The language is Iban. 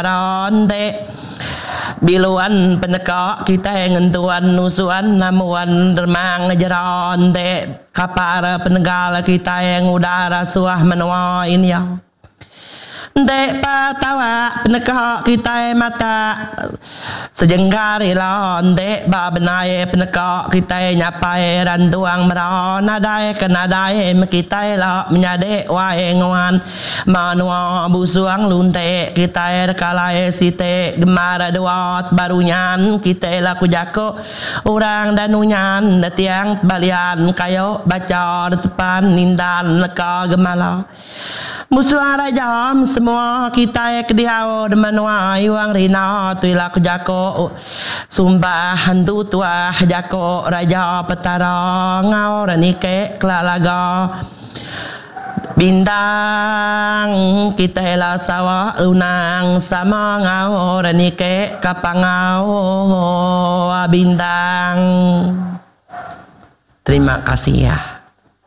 Enti biluan peneka kitai ngentuan nusuan namuan remang jera enti kapar penegal kitai nguda rasuah menua India. Enti pa tawa peneka kitai matak Sejengkar ila enti ba benai peneka kitai nyapai rantuang mera nadai ke nadai meh kitai la menyadi wai nguan menua busung luntik kitai rekalai siti gembar dua baru nyan kitai la ku jaku orang danu nyan tiang tebalian kayu bacha tepan nindan leka gemala. Musuh raja semua kitai ke diau di menua Iwang Rina tu ila ku jako sumpah hantu tuah jako raja petara enggau renike kela laga bintang kitai la sawa lunang sama enggau renike ka pangau bintang. Terima kasih.